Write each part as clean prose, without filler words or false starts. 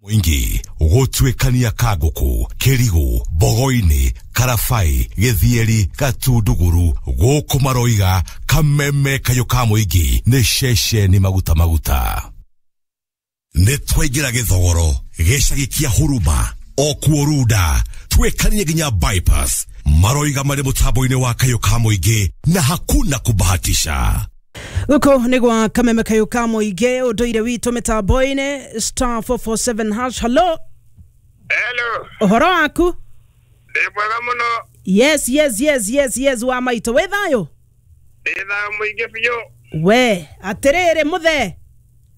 Mũingĩ gũtuĩkania Kangũkũ, Kĩrigũ, Bogoinĩ, Karabai, Gĩthieri, Gatunduguru, gũkũ maroiga Kameme kayũ ka mũingĩ nĩ ceceni maguta maguta. Nĩ twaingĩra gĩthogoro gĩcagi kĩa Huruma okuo Runda twĩkanie nginya bypass maroiga marĩ mũtambo-inĩ wa kayũ ka mũingĩ na hakuna kubahatisha. Guku nĩ gwa Kameme kayũ ka mũingĩ ũndũire witũ mĩtambo-inĩ star 447 hash. Hello. Hello. Ũhoro waku? Ndĩ mwega mũno. Yes, yes, yes, yes, yes, wa maitũ wĩ thayũ? Ndĩ thayũ mũingĩ biũ. We atĩrĩrĩ mũthee.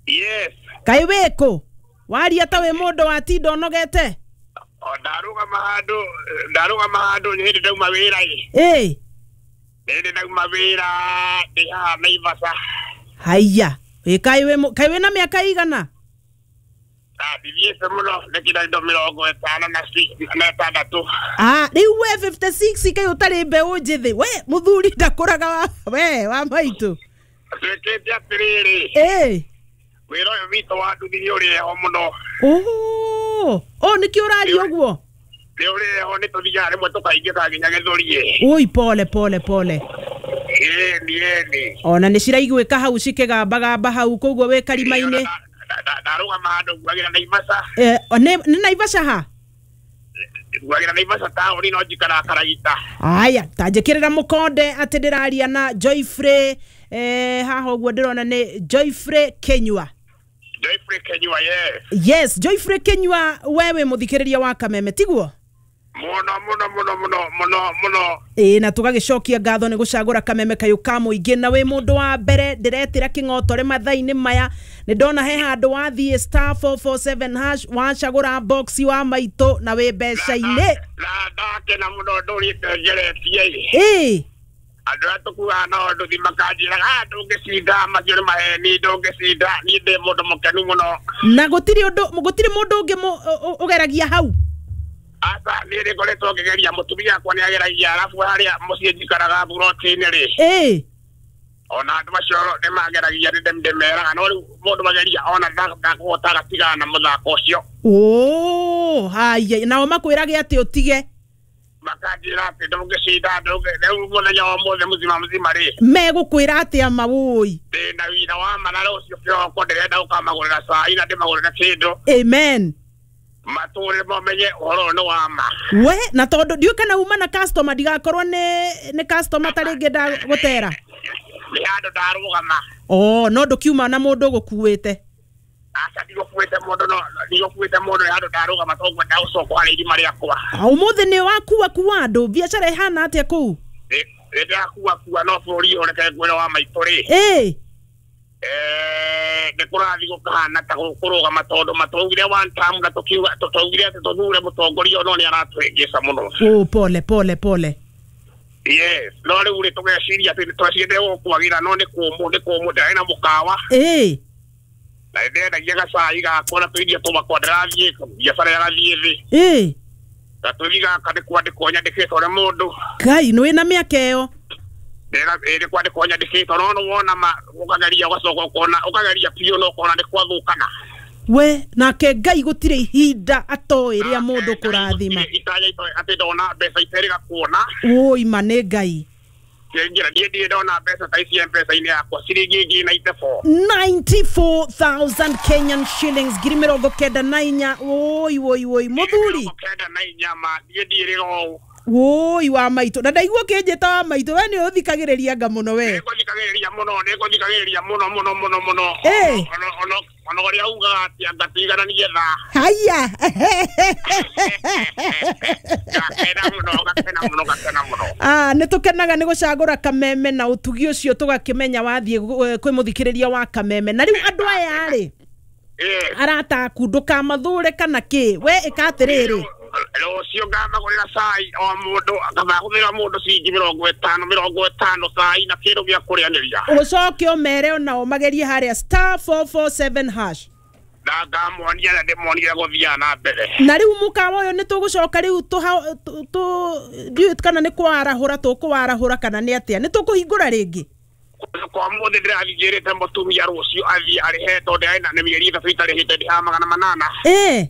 Yes. Kaĩ wĩkũ? Waria ta wĩ mũndũ watinda ũnogete? O ndarũgama handũ, ndarũgama handũ nĩ hĩndĩ ndauma wĩra ĩ. Ĩ. Nĩ hĩndĩ ndauma wĩra ndĩ haha Naivasha. Haiya, ĩ kaĩ wĩ kaĩ wĩna mĩaka igana? Ndithiĩte mũno nĩ indo 56. Ah, rĩu we 56 kaĩ ũtarĩ mbeũ njĩthĩ. We mũthuri ndakũraga wa we wa maitũ. Twĩkĩte atĩrĩrĩ. Ĩ. Wĩra ũyũ witũ wa nduthi nĩ ũrĩ ho mũno. Oh, oh nĩkĩo ũraria ũguo? Nĩ ũrĩ ho, nĩ tũthiaga rĩmwe tũkaingĩka nginya gĩthũri. Oi, pole pole pole. Ĩni ĩni. Ona nĩ ciraiguĩka hau cikĩgambagamba hau koguo wĩ karima-inĩ. Ndarũgama handũ nguagĩra Naivasha. Nĩ Naivasha ha? Nguagĩra Naivasha taũni no njikaraga Karagita. Aya, ta njĩkĩrĩra mũkonde atĩ ndĩraria na Joyfrey, haha ũguo ndĩrona nĩ Joyfrey Kenyua. Joyfrey Kenyua, yes. Yes, Joyfrey Kenyua, we wĩ mũthikĩrĩria wa Kameme tiguo? Mũno mũno mũno mũno mũno mũno. Ĩ, na tũgagĩcokia ngatho nĩ gũcagũra Kameme kayũ ka mũingĩ, na wĩ mũndũ wa mbere ndĩretĩra kĩng'otore mathaa-inĩ maya. Nĩ ndona he handũ wathiĩ star 447 hash wacagũra box wa maitũ na wĩ mbeca-inĩ. Na ndakena mũno ndũrĩte ngeretie. Ĩ. Andũ arĩa tũkuaga nao nduthi makanjĩraga ndũngĩcinda, macio nĩ maheni, ndũngĩcinda. Niĩ ndĩ mũndũ mũkenu mũno. Na gũtirĩ ũndũ, gũtirĩ mũndũ ũngĩ ũgeragia hau? Aca, niĩ nĩ ngoretwo ngĩgeria, mũtumia wakwa nĩ ageragia, arabu harĩa mũciĩ njikaraga buroti-inĩ rĩ. Ĩ. Ona andũ acio nĩ mageragia, nĩ ndĩmeraga, no rĩu mũndũ mageria ona ndakũhota agatigana na mũthako ũcio. Oh, haya, nao makwĩrage atĩ ũtige? Makanjĩra atĩ ndũngĩcinda, rĩu mũthenya wa ũmũthĩ mũzima mũzima rĩ. Megũkwĩra atĩa mawũi? Ndĩna wĩra wa ma na rũciũ kĩroko ndĩrenda gũkamagũrĩra cai na ndĩmagũrĩre kĩndũ. Amen. Matũre mamenye ũhoro ũyũ nĩ wa ma. We, na tondũ ndiũĩ kana uma na customer, ndigakorwo nĩ customer ta rĩngĩ ndagũtera. Nĩ handũ ndarũgama. Oh, no ndũkiuma na mũndũ ũgũkuĩte. Aca, ndigũkuĩte mũndũ, no ndigũkuĩte mũndũ, nĩ handũ ndarũgama tondũ ngwenda gũcoka harĩ irima rĩakwa. Ũmũthĩ nĩ wakua kua andũ, biacara ĩhana atĩa kũu? Nĩ ndĩrakua kua, no bũrũri ũyũ reke ngwĩre wa maitũ rĩ. Ĩ. Nĩ kũrathiĩ gũkahana ta kũrũgama tondũ matwaugire one term na tũkiuga tũtwaugire atĩ tũthure mũtongoria no nĩ aratũhĩngĩca mũno. Oh, pole pole pole. Yes, no rĩu rĩ tũgeciria atĩ twecirie gũkwagĩra no nĩ kũmũ, nĩ kũmũ, ndĩrarĩ na mũkawa. Ĩ. Na nĩndendagia gacai gakwa na tũirio twakwa, ndĩrathiĩ biacara ĩrathiĩ thĩ. Ĩ. Gatũthi gaka nĩ kwandĩkwo nyandĩkĩtwo nĩ mũndũ. Ngai, nĩ wĩna mĩaka ĩyo? Nĩ kwandĩkwo nyandĩkĩtwo, no nĩ wona ma ũkageria ũgacoka ũkona, ũkageria biũ no ũkona nĩ kwathũkana. We, nake Ngai gũtirĩ ihinda atoĩ rĩa mũndũ kũrathima. Itanya atĩ ndona mbeca iterĩga kuona. Woi, ma nĩ Ngai. Kĩngira, niĩ ndirĩ ndona mbeca ta ici M-Pesa-inĩ yakwa, ciringi ngiri 94. 94,000 Kenyan shillings, 94,000. Woi, woi, woi, mũthuri. 94 ma, niĩ ndirĩ ũũ. Woi wa maitũ, na ndaigua ũkĩnjĩta wa maitũ, we nĩ ũthikagĩrĩria nga mũno we. Nĩngũthikagĩrĩria mũno, nĩngũthikagĩrĩria mũno mũno mũno mũno. Ĩ. Ona ũrĩa ugaga atĩ anga tũigananie thaa. Haya. Ngakena mũno, ngakena mũno, ngakena mũno. Ah, nĩ tũkenaga nĩ gũcagũra Kameme na ũtugi ũcio tũgakĩmenya wathiĩ kwĩ mũthikĩrĩria wa Kameme. Na rĩu andũ aya rĩ, arata aku ndũkamathũre kana kĩ, we ĩka atĩrĩrĩ. Rũciũ ngamagũrĩra cai o mũndũ, ngamagũrĩra mũndũ ciringi 50, 50 cai na kĩndũ gĩa kũrĩanĩria. Ũcoke ũmere onao magerie harĩa star 447 hash. Na ngamonia na ndĩmonie gũthiaga na mbere. Na rĩu mũkawa ũyũ nĩ tũgũcoka rĩu ndiũĩ kana nĩ kwarahũra tũkũwarahũra kana nĩ atĩa, nĩ tũkũhingũra rĩngĩ? Kwa mũthĩ ndĩrathiĩ njĩrĩte mũtumia rũciũ athiĩ arĩhe tondũ ndĩrarĩ na mĩeri 3 itarĩhĩte, ndĩhaga 800. Ĩ.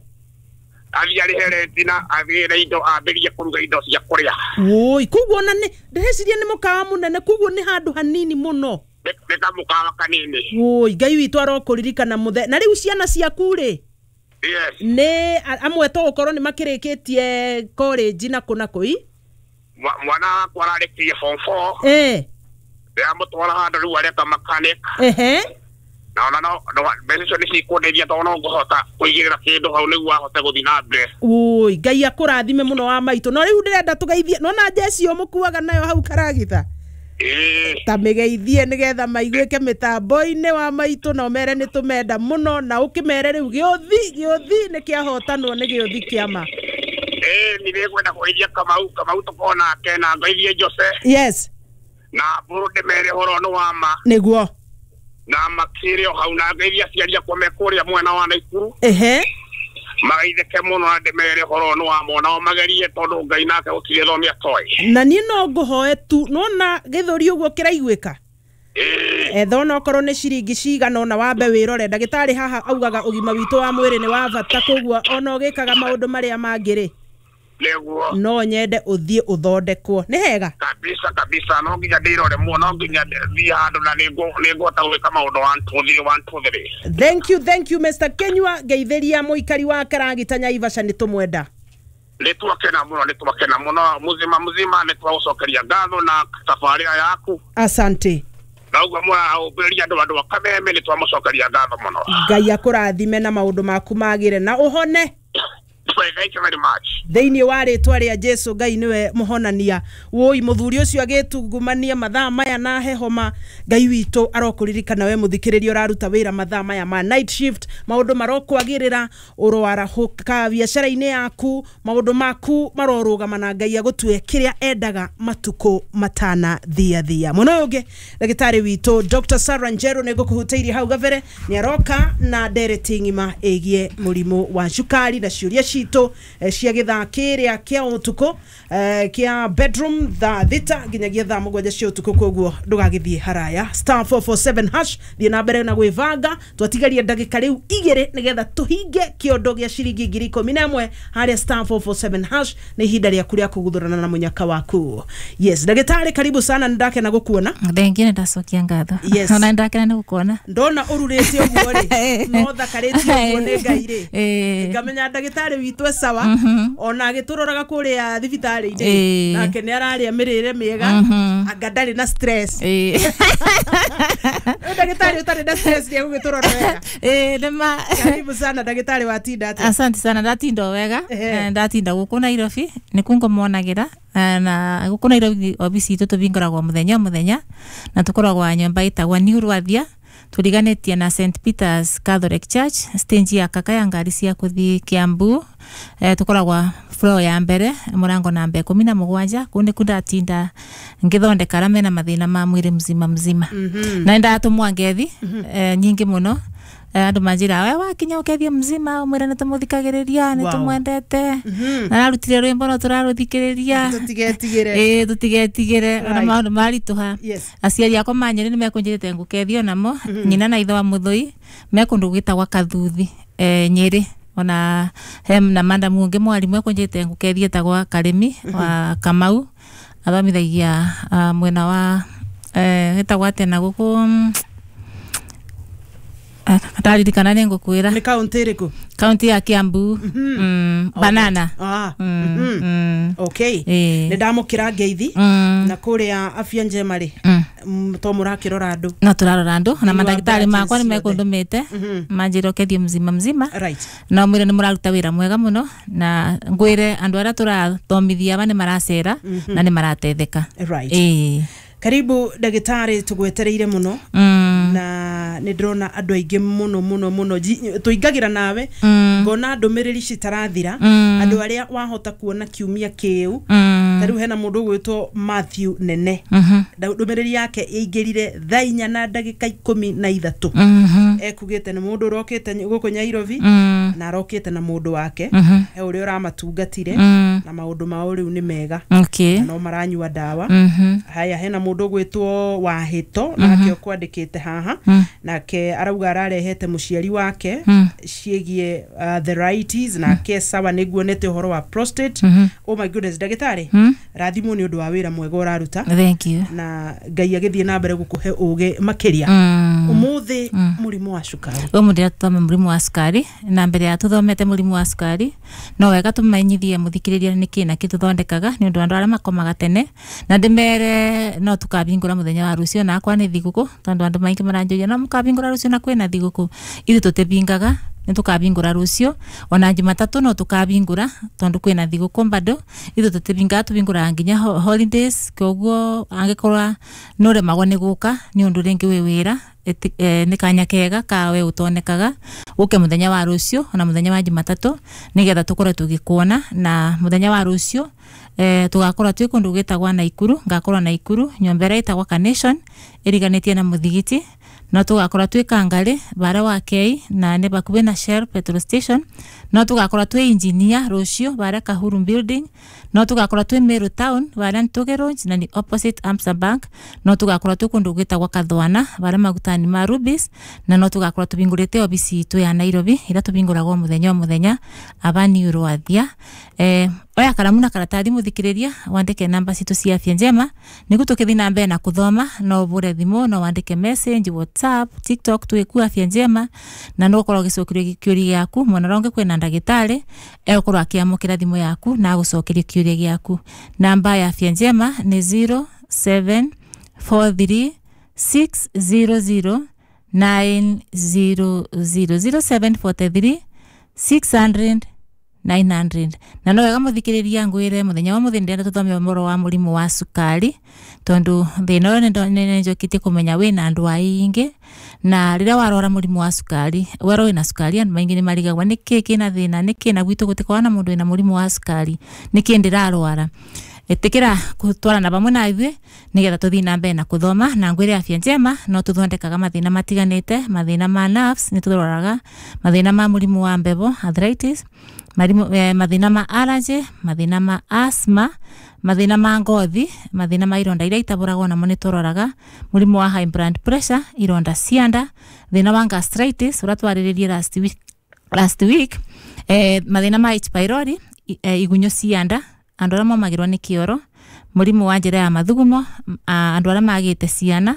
Athiĩ arĩhe renti na agĩre indo ambĩrĩrie kũruga indo cia kũrĩa. Woi, koguo ona nĩ ndĩreciria nĩ mũkawa mũnene, koguo nĩ handũ hanini mũno. Nĩ kamũkawa kanini. Woi, Ngai witũ arokũririkana mũthe. Na rĩu ciana ciaku rĩ? Yes. Nĩ amwe to gũkorwo nĩ makĩrĩkĩtie college na kũ na kũ i? Mwana wakwa ararĩkirie form 4. Ndĩramũtwara handũ rĩu areka mechanic. Na ona no mbeca icio nĩ cikũndeithia tondũ no ngũhota kũigĩrĩra kĩndũ hau nĩguo ahote gũthiĩ na mbere. Oi, Ngai akũrathime mũno wa maitũ. No rĩu ndĩrenda tũgeithie, nona njeci ũmũkuaga nayo hau karagitha. Ta mĩgeithie nĩgetha maiguĩke mĩtambo-inĩ wa maitũ na ũmere nĩ tũmenda mũno, na ũkĩmere rĩu gĩũthi nĩ kĩahotanwo nĩ gĩũthi kĩama. Nĩ ngwenda kũgeithia Kamau tũkorwo nake na ngeithie Jose. Yes. Na mbũrũ ndĩmere ũhoro nĩ wa ma. Nĩguo. Na makĩrĩ o hau na ngeithia aciari akwa me kũrĩa mwena wa Naikuru. Magaithĩke mũno na ndĩmere ũhoro nĩ wa ma, nao magerie tondũ Ngai nake gũtirĩ thomia atoĩ. Na niĩ no ngũhoe tu, nona gĩthũri ũguo kĩraiguĩka. Etha ona okorwo nĩ ciringi cigana ona wambe wĩrore. Ndagĩtarĩ haha augaga ũgima witũ wa mwĩrĩ nĩ wa bata, koguo ona ũgĩkaga maũndũ marĩa mangĩ rĩ, nĩguo no nyende ũthiĩ ũthondekwo. Nĩ hega kabisa kabisa, no nginya ndĩrore muno, no nginya thiĩ handũ na nĩngũhota gwĩka maũndũ 1 2 3 1 2 3. Thank you Mr. Kenyua. Ngeithĩria mũikari wa Karagita Nyaivasha, nĩ tũmwenda. Nĩ twakena mũno, nĩ twakena mũno, muzima muzima, nĩ twagũcokeria ngatho na tabarĩra yaku. Asante. Na ũguo mũrahũmbĩrĩria andũ a Kameme, nĩ twamũcokeria ngatho mũno. Ngai akũrathime na maũndũ maku magĩre na ũhone. Thank you very much. Thĩinĩ wa rĩtwa rĩa Jesu, Ngai nĩwe mũhonania. Woi, mũthuri ũcio agĩtungumania mathaa maya na hehoma, Ngai witũ arokũririkana we mũthikĩrĩria ũraruta wĩra mathaa maya ma night shift, maũndũ marokwagĩrĩra, ũroarahũka biacara-inĩ yaku, maũndũ maku marorũgama na Ngai agũtue kĩrĩa endaga matukũ matana thia thia. Mwena ũyũ ũngĩ ndagĩtarĩ witũ Dr. Sarah Njeru nĩ ngũkũhutĩirie hau gabere, nĩ aroka na ndereti ng'ima ĩgiĩ mũrimũ wa cukari na ciũria citũ cia gĩthaa kĩrĩa kĩa ũtukũ kĩa bedroom thaa 6 nginyagia thaa 7 cia ũtukũ, koguo ndũgagĩthiĩ haraya. *447 hash, thiĩ na mbere na gwĩbanga. Twatigaria ndagĩka rĩu 2 nĩgetha tũhinge kĩondo gĩa ciringi 11,000 harĩa *447 hash. Nĩ ihinda rĩaku rĩa kũguthũrana na mũnyaka waku. Yes, ndagĩtarĩ karibu sana, nĩndakena gũkuona. Thengiũ, nĩndacokia ngatho. Yes. Ona nĩndakena nĩ gũkuona. Ndona ũrurĩte ũguo rĩ, no thakarĩte ũguo nĩ Ngai rĩ, ngamenya ndagĩtarĩ witũ e sawa. Ona agĩtũroraga kũrĩa thibitarĩ-inĩ, nake nĩ ararĩa mĩrĩre mĩega, anga ndarĩ na stress. Ndagĩtarĩ ũtarĩ na stress nĩ egũgĩtũrora wega. Nĩma. Karibu sana ndagĩtarĩ, watinda atĩa? Asante sana, ndatinda o wega. Ndatinda gũkũ Nairobi, nĩkuo ngũmonagĩra. Na gũkũ Nairobi obici itũ tũbingũragwo mũthenya o mũthenya, na tũkoragwo nyũmba ĩtagwo New Rwathia, tũriganĩtie na St Peters Catholic Church, stage ya kaka ya ngari cia kũthiĩ Kiambu. Tũkoragwo floor ya mbere, mũrango namba 17. Kũu nĩkuo ndatinda ngĩthondeka arĩa mena mathĩna ma mwĩrĩ mzima mzima. Na nĩndatũmwo ngethi nyingĩ mũno. Andũ manjĩra we wakinya ũkethie mzima, ũmwĩre nĩtũmũthikagĩrĩria, nĩtũmwendete. Na ararutire rwĩmbo no tũrarũthikĩrĩria. Tũtigetigĩre. Tũtigetigĩre. Ona maũndũ maritũha. Aciari akwa manyĩrĩ nĩmekũnjĩrĩte ngũkethie onamo. Nyina na ithe wa Mũthũi me kũndũ gwĩtagwa Kathuthi, Nyĩrĩ. Ona he na madamu ũngĩ mwarimũ ekũnjĩrĩte ngũkethie etagwa Karĩmi wa Kamau, athomithagia mwena wa ĩtagwo atĩa na gũkũ, ndaririkana nĩ ngũkwĩra. Nĩ kaũntĩ ĩrĩkũ? Kaũntĩ ya Kiambu. Banana. Okay. Nĩ ndamũkĩra ngeithi. Na kũrĩa Afya Njema rĩ, to mũrakĩrora andũ? No tũrarora andũ, na mandagĩtarĩ makwa nĩ mekũndũmĩte manjĩre ũkethie mzima mzima. Na mwĩre nĩ mũraruta wĩra mwega mũno, na ngwĩre andũ arĩa tũrathomithia aba nĩ maracera na nĩ maratetheka. Karibu ndagĩtarĩ, tũgwetereire mũno. Na nĩ ndĩrona andũ aingĩ mũno mũno mũno tũingagĩra nawe, ngona ndũmĩrĩri citarathira, andũ arĩa wahota kuona kiumia kĩu Ta rĩu hena mũndũ ũgwĩtwo Matthew Nene, ndũmĩrĩri yake ĩingĩrire thaa inya na ndagĩka 13. Ekugĩte nĩ mũndũ ũrokĩte gũkũ Nairobi na arokĩte na mũndũ wake, he ũrĩa ũramatungatire na maũndũ mao rĩu nĩ mega na no maranyua ndawa. Haya, hena mũndũ ũgwĩtwo Wahĩto, nake ũkwandĩkĩte haha, nake arauga ararehete mũciari wake ciĩgiĩ arthritis, nake sawa nĩguonete ũhoro wa prostate. Oh my goodness, ndagĩtarĩ, rathimwo nĩ ũndũ wa wĩra mwega ũraruta. Thank you. Na Ngai agĩthiĩ na mbere gũkũhe ũgĩ makĩria. Ũmũthĩ mũrimũ wa cukari. Ũmũthĩ tũthome mũrimũ wa cukari, na mbere ya tũthomete mũrimũ wa cukari no wega tũmenyithie mũthikĩrĩria nĩkĩ na kĩ tũthondekaga, nĩ ũndũ andũ arĩa makomaga tene, na ndĩmere no tũkabingũra mũthenya wa rũciũ na akwa nĩ thigũkũ, tondũ andũ maingĩ maranjũria no mũkabingũra rũciũ na kwĩna thigũkũ. Ithuĩ tũtĩbingaga, nĩ tũkabingũra rũciũ, ona Jumatatũ no tũkabingũra tondũ kwĩna thigũkũ bado. Ithuĩ tũtĩbingaga, tũbingũraga nginya holidays. Koguo angĩkorwo nĩ ũremagwo nĩ gũka nĩ ũndũ rĩngĩ wĩ wĩra, nĩ kanya kega kawe ũtonekaga ũke mũthenya wa rũciũ ona mũthenya wa Jumatatũ, nĩgetha tũkorwo tũgĩkuona. Na mũthenya wa rũciũ tũgakorwo twĩ kũndũ gwĩtagwa Naikuru, ngakorwo Naikuru nyũmba ĩrĩa ĩtagwa Carnation ĩriganĩtie na mũthigiti. No tũgakorwo twĩ Kangarĩ bara wa Kei na nĩ bakuhĩ na Shell petrol station. No tũgakorwo twĩ Engineer rũciũ bara Kahuru building. No tũgakorwo twĩ Meru town bara Ntuge Road na ni opposite Amsa Bank. No tũgakorwo twĩ kũndũ gwĩtagwa Kathwana bara magutani ma Rubis, na no tũgakorwo tũbingũrĩte obici itũ ya Nairobi ĩrĩa tũbingũragwo mũthenya o mũthenya aba Rwathia. Oya karamu na karatathi mũthikĩrĩria, wandĩke namba citũ cia Afya Njema nĩguo tũkĩthiĩ na mbere na kũthoma. No ũbũre thimũ, no wandĩke message, WhatsApp, TikTok, twĩku Afya Njema, na no ũkorwo ũgĩcokerio kĩũria gĩaku. Mwena ũrĩa ũngĩ kwĩna ndagĩtarĩ egũkorwo akĩamũkĩra thimũ yaku na agũcokerie kĩũria gĩaku. Namba ya Afya Njema nĩ 0743 600 900, 0743 600 900. Na no wega mũthikĩrĩria ngwĩre mũthenya wa mũthĩ ndĩrenda tũthome ũhoro wa mũrimũ wa cukari, tondũ thĩna ũyũ nĩ njũkĩtie kũmenya wĩna andũ aingĩ, na rĩrĩa warwara mũrimũ wa cukari, werwo wĩna cukari, andũ maingĩ nĩ marigagwo nĩkĩ kĩna thĩna, nĩkĩ na gwitũ gũtikoragwo na mũndũ wĩna mũrimũ wa cukari, nĩkĩ ndĩrarwara. Ĩtĩkĩra gũtwarana vamwe na ithuĩ nĩgetha tũthiĩ na mbere na kũthoma. Na ngwĩre Afya Njema no tũthondekaga mathĩna matiganĩte, mathĩna ma nerves nĩ tũroraga, mathĩna ma mũrimũ wa mbebo arthritis, mathĩna ma allergy, mathĩna ma asthma, mathĩna ma ngothi, mathĩna ma ironda iria itabũragwo namo nĩ tũroraga, mũrimũ wa high blood pressure, ironda cia nda, thĩna wa gastritis ũrĩa twarĩrĩrie last week, mathĩna ma H pylori, igunyũ cia nda, andũ arĩa momagĩrwo nĩ kĩoro, mũrimũ wa njĩra ya mathugumo, andũ arĩa magĩte ciana,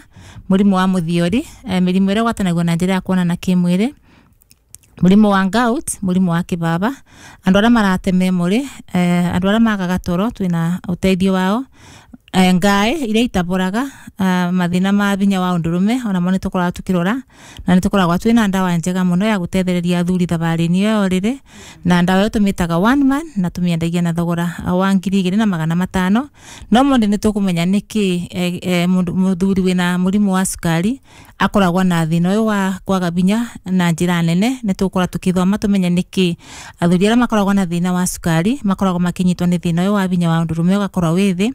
mũrimũ wa mũthiori, mĩrimũ ĩrĩa ĩgwatanagio na njĩra ya kuonana kĩmwĩrĩ, mũrimũ wa gout, mũrimũ wa kĩbaba, andũ arĩa marate memory, andũ arĩa magaga toro twĩna ũteithio wao, ngaĩ iria itabũraga, mathĩna ma binya wa ũndũrũme onamo nĩ tũkoragwo tũkĩrora, na nĩ tũkoragwo twĩna ndawa njega mũno ya gũtethereria athuri thabarĩ-inĩ ĩyo rĩrĩ, na ndawa ĩyo tũmĩtaga one man na tũmĩendagia na thogora wa 2500. No mũndũ nĩ tũkũmenya nĩkĩ mũthuri wĩna mũrimũ wa cukari akoragwo na thĩna ũyũ wa kwaga binya na njĩra nene. Nĩ tũgũkorwo tũkĩthoma tũmenye nĩkĩ athuri arĩa makoragwo na thĩna wa cukari makoragwo makĩnyitwo nĩ thĩna ũyũ wa binya wa ũndũrũme ũgakorwo wĩ thĩ.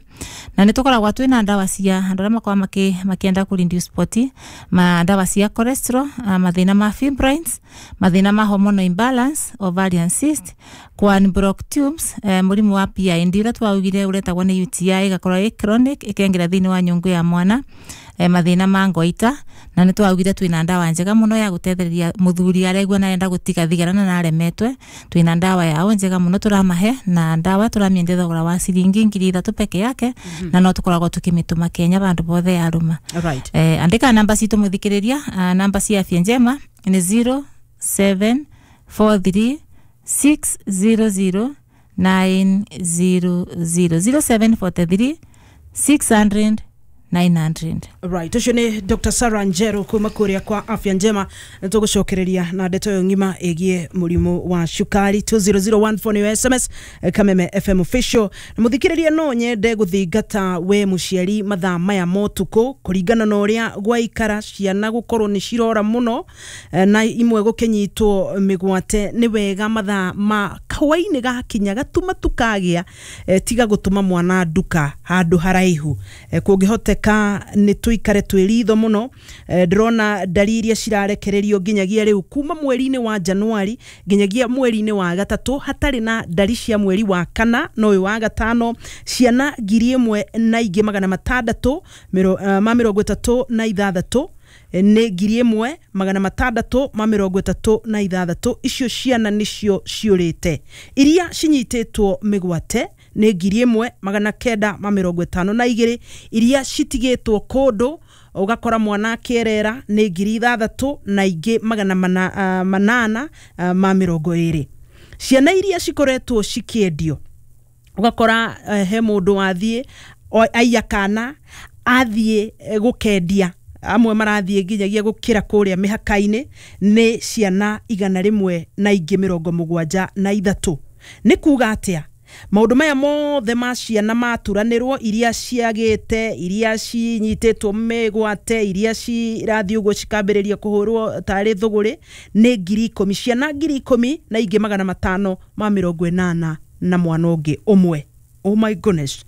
Na nĩ tũkoragwo twĩna ndawa cia andũ arĩa makoragwo makĩenda kũ reduce body, ma ndawa cia cholesterol, mathĩna ma fibroids, mathĩna ma hormonal imbalance, ovarian cyst, block tubes, mũrimũ wa PID ũrĩa twaugire ũretagwo nĩ UTI ĩgakorwo ĩ chronic ĩkengera thĩinĩ wa nyũngũ ya mwana, mathĩna ma ngoita. Na nĩ twaugire twĩna ndawa njega mũno ya gũtethereria mũthuri aregua na arenda gũtiga thigara na aremetwe, twĩna ndawa yao njega mũno tũramahe, na ndawa tũramĩendia thogora wa ciringi 3000 peke yake. Na no tũkoragwo tũkĩmĩtũma Kenya bandũ bothe yarũma. Right. Andĩka namba citũ mũthikĩrĩria, namba cia Afya Njema nĩ 0743 600 900, 0743 600 900. Right, ũcio nĩ Dr. Sarah Njeru kuma kũrĩa kwa Afya Njema. Nĩ tũgũcokereria na ndeto ĩyo ng'ima ĩgiĩ mũrimũ wa cukari. 20014 nĩyo SMS, Kameme FM official. Na mũthikĩrĩria, no nyende gũthingata we mũciari mathaa maya ma ũtukũ, kũringana na ũrĩa gwaikara ciana gũkorwo nĩ cirora mũno, na imwe gũkĩnyitwo mĩgwate, nĩ wega mathaa ma Kahwainĩ gakinya gatuma tukagĩa, tiga gũtũma mwana nduka handũ haraihu. Kũngĩhoteka nĩ tũikare twĩ ritho mũno. Ndĩrona ndari iria cirarekererio nginyagia rĩu kuma mweri-inĩ wa Januari nginyagia mweri-inĩ wa gatatũ, hatarĩ na ndari cia mweri wa kana na ũyũ wa gatano, ciana 1636, nĩ 1636. Icio ciana nĩcio ciũrĩte. Iria cinyitĩtwo mĩgwate nĩ 1952. Iria citigĩtwo kũndũ ũgakora mwana akĩerera nĩ 6820. Ciana iria cikoretwo cikĩendio, ũgakora he mũndũ wathiĩ aiya kana athiĩ gũkendia, amwe marathiĩ nginyagia gũkĩra kũrĩa mĩhaka-inĩ, nĩ ciana 173. Nĩ kuga atĩa? Maũndũ maya mothe ma ciana maturanĩrwo, iria ciagĩte, iria cinyitĩtwo mĩgwate, iria cirathiĩ ũguo cikambĩrĩria kũhũrwo tarĩ thũgũrĩ, nĩ 10,000, ciana 10,580 na mwana ũngĩ ũmwe. Oh my goodness.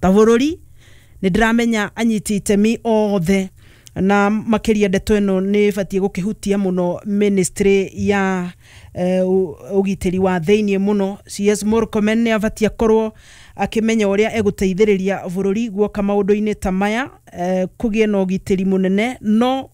Ta bũrũri nĩ ndĩramenya anyiti itemi othe, na makĩria ndeto ĩno nĩ ĩbatiĩ gũkĩhutia mũno ministry ya ũgitĩri wa thĩiniĩ mũno. CS Murkomen nĩ abatiĩ akorwo akĩmenya ũrĩa egũteithĩrĩria bũrũri guoka maũndũ-inĩ ta maya, kũgĩe na ũgitĩri mũnene no